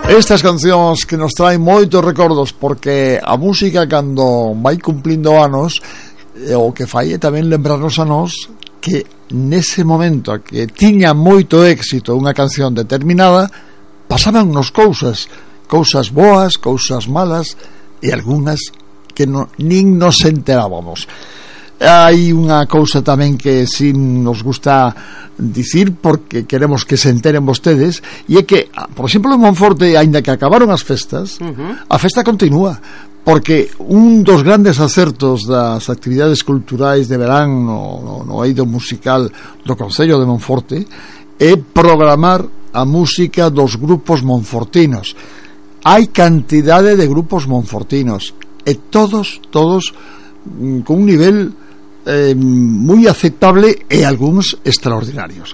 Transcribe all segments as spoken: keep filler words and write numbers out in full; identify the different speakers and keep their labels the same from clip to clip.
Speaker 1: Estas cancións que nos traen moitos recordos, porque a música cando vai cumplindo anos o que fai é tamén lembrarnos a nós que nese momento que tiña moito éxito unha canción determinada, pasaban nos cousas, cousas boas, cousas malas e algunhas que no, nin nos enterábamos. Hai unha cousa tamén que si nos gusta dicir, porque queremos que se enteren vostedes, e é que, por exemplo, en Monforte, aínda que acabaron as festas, uh-huh. a festa continúa, porque un dos grandes acertos das actividades culturais de verán no, no, no eido musical do Concello de Monforte é programar a música dos grupos monfortinos. Hai cantidade de grupos monfortinos e todos, todos con un nivel Eh, moi aceptable e algúns extraordinarios.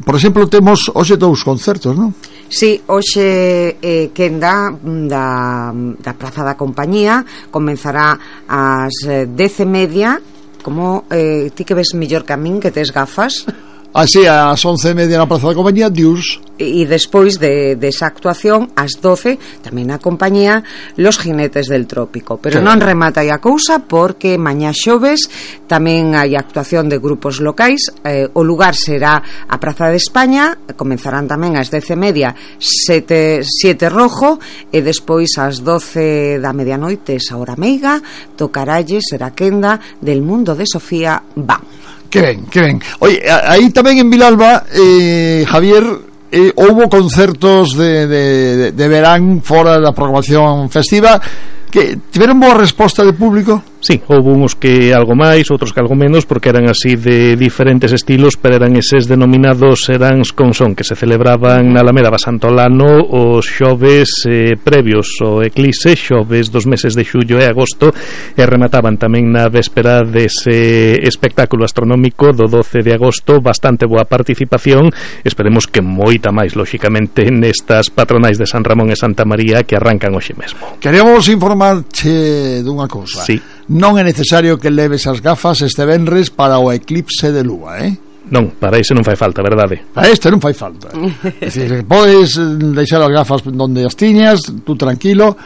Speaker 1: Por exemplo, temos hoxe dous concertos, non?
Speaker 2: Sí, hoxe eh, quenda da, da Praza da Compañía comenzará ás dez e media. Como eh, ti que ves mellor que a min, que tes gafas.
Speaker 1: Así, ás once e media na Praza da Compañía, dius.
Speaker 2: E despois de, de esa actuación, ás doce, tamén na compañía, Los Jinetes del Trópico. Pero claro, non remata aí a cousa, porque mañá xoves tamén hai actuación de grupos locais. Eh, o lugar será a Praza de España, comenzarán tamén ás dez e media sete, siete Rojo, e despois ás doce da medianoite, esa hora meiga, tocaralles será quenda del Mundo de Sofía Van.
Speaker 1: Que ben, que ben. Oye, aí tamén en Vilalba, eh, Javier, eh, houbo concertos de, de, de, de verán fora da programación festiva que tiveron boa resposta de público.
Speaker 3: Sí, houve uns que algo máis, outros que algo menos, porque eran así de diferentes estilos, pero eran eses denominados seráns con son, que se celebraban na Alameda Basantolano os xoves eh, previos ao eclipse, xoves dos meses de xullo e agosto, e remataban tamén na véspera dese espectáculo astronómico do doce de agosto. Bastante boa participación, esperemos que moita máis, lóxicamente, nestas patronais de San Ramón e Santa María que arrancan hoxe mesmo.
Speaker 1: Queremos informarche dunha cousa.
Speaker 3: Sí.
Speaker 1: Non é necesario que leves as gafas este venres para o eclipse de lúa, eh?
Speaker 3: Non, para ese non fai falta, verdade?
Speaker 1: Para este non fai falta. É dicir, podes deixar as gafas onde as tiñas, tú tranquilo.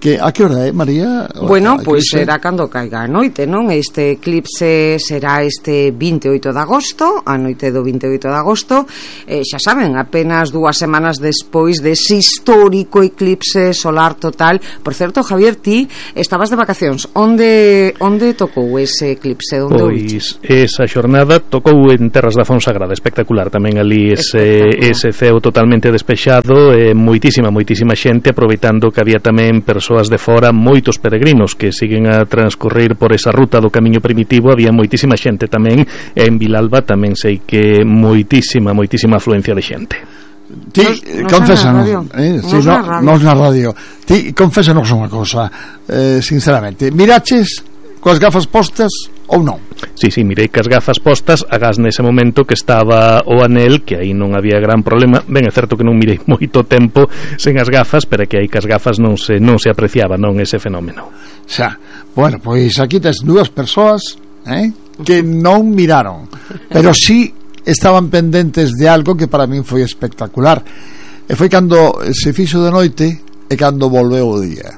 Speaker 1: Que, a que hora é, María?
Speaker 2: Bueno, pois pues será cando caiga a noite, non? Este eclipse será este vinte e oito de agosto, a noite do vinte e oito de agosto. Eh, xa saben, apenas dúas semanas despois dese histórico eclipse solar total. Por certo, Javier, ti estabas de vacacións. Onde onde tocou ese eclipse? Onde
Speaker 3: pois esa xornada tocou en Terras da Fonsagrada, espectacular tamén ali ese, ese ceo totalmente despexado, e moitísima, moitísima xente, aproveitando que había tamén persoas de fora, moitos peregrinos que siguen a transcurrir por esa ruta do camiño primitivo. Había moitísima xente tamén, e en Vilalba tamén sei que moitísima, moitísima afluencia de xente.
Speaker 1: Ti, confésanos, eh, si, no, nos na radio. Ti, confésanos unha cosa, eh, sinceramente, miraches coas gafas postas ou non?
Speaker 3: Sí, sí, mirei que as gafas postas, agás nese momento que estaba o anel, que aí non había gran problema. Ben, é certo que non mirei moito tempo sen as gafas, pero que aí que as gafas non se non se apreciaba, non, ese fenómeno.
Speaker 1: Xa, bueno, pois aquí tes dúas persoas, eh, que non miraron, pero sí estaban pendentes de algo que para min foi espectacular. E foi cando se fixo de noite e cando volveu o día.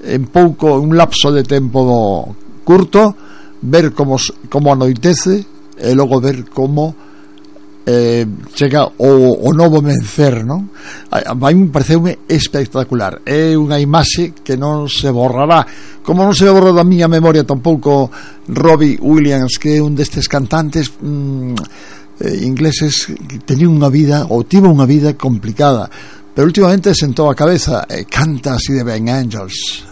Speaker 1: En pouco, un lapso de tempo curto, ver como, como anoitece e logo ver como eh, chega o, o novo mencer, non? A, a mí me pareceume espectacular. É unha imaxe que non se borrará, como non se borra da miña memoria tampouco Robbie Williams, que é un destes cantantes mm, eh, ingleses que tenía unha vida, ou tivo unha vida complicada, pero últimamente sentou a cabeza e canta así de ben, Angels.